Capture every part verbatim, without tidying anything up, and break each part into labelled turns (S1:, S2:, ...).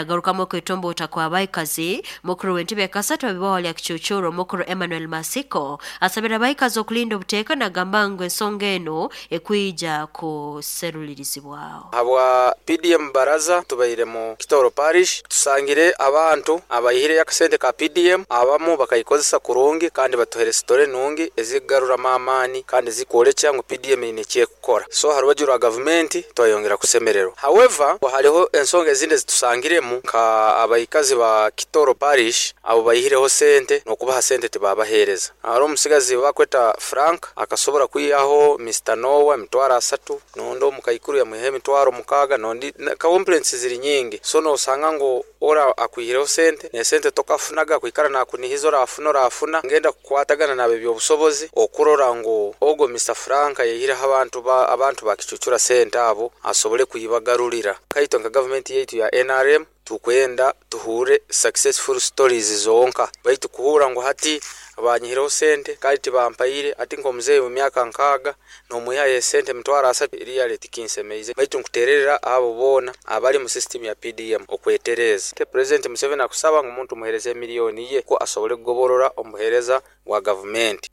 S1: Nagarukamu okwetomboota kw'abaikazi, mukuru w'entebe kasatu abibaho lya Kicucuro, mukuru Emmanuel Masiko, asabira abaikazi okulinda obuteeka, nagamba ngu ensonga eno ekwija kuserulirizibwaho.
S2: Habwa P D M baraza tubaire mu Kitoro Parish, tusangire abantu abaihire akasente ka P D M, abamu bakaikozesa kurungi kandi batuhere story nungi ezikugaruramu amaani kandi zikwolekya ngu P D M eine ekyekukora. So ha rubaju rwa gavumenti twayongera kusemererwa. However, hariho ensonga ezindi ezitusangiremu, nka abaikazi ba Kitoro Parish abo baihireho sente, n'okubaha sente tibabaheereza. Hariho omusigazi bakweta Frank akasobora kwihaho Mister Noah emitwaro asatu, nondi omukaikuru yamwihaho emitwaro mukaaga, nondi. Complaints ziri nyingi. So nosanga ngu ora akwihireho sente, nesente tokafunaga, kwikara nakunihiza orafuna, orafuna. Ngenda kukwatagana nab'ebyobusobozi okurora ngu ogwo Mister Frank yaihireho abantu ba abantu bakicucura sente abo asobole kuibagarurira. Kaitwe nka gavumenti yaitu ya N R M tukwenda tuhure successful stories zonka, baitu kuhura ngu hati banyihireho sente kandi tibampaire, ati nk'omuzeeyi mu myaka nkaaga nomwihayo esente emitwaro asatu, really tikinsemeize. Baitu nkutererera abo boona abali mu system ya P D M okwetereza. President Museveni akusaba ngu omuntu muhereze emiliyoni ye ko asobole kugoborora omubuheereza bwa gavumenti.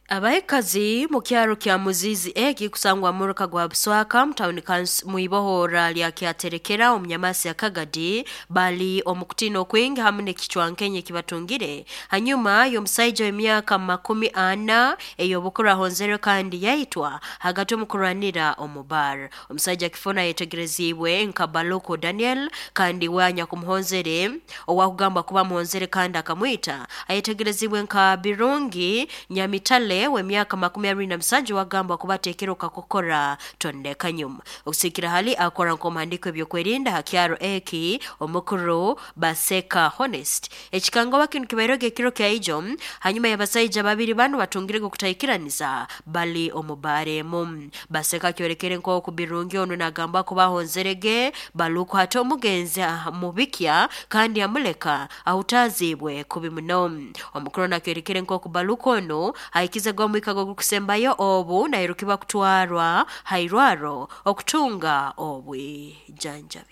S1: Abaikazi mu kyaro kya Muzizi eki kusangwa muruka gwa Buswaka mutawuni mwibohora lya Kyaterekera omunyamasi ya Kagadi bali omu kutiina okwingi hamu n'ekicwankenye ekibatungire hanyuma y'omusaija w'emyaka makumi ana ey'obukuru ahonzerwe kandi yaitwa hagati omu kurwanira omu bar. Omusaija kifuna ayetegereziibwe nka Baluku Daniel, kandi we anyakumuhonzere, owakugambwa kuba amuhonzere kandi akamwita, ayetegerezibwe nka Birungi Nyamitale w'emyaka makumi abiri na musanju, wagambwa kuba ateekere okakokora tondeka nyuma. Okusikira hali akora nk'omuhandiiko ebyokwerinda ha kyaro eki, omukuru Baseka Honest. Ekikangoba kinu kibaireho ekiro kya ijo hanyuma y'abasaija babiri banu batungirege okutaikiraniza bali omu baara emu. Baseka kyolekere nk'oku Birungi onu nagambwa kuba ahonzerege Baluku, hati omugenzi amubikya kandi amuleka ahutaziibwe kubi muno. Omukuru nakyolekere nk'oku Baluku onu ahikize omwika ogukusembayo obu nairukibwa kutwarwa hairwaro okutunga obwijanjabi.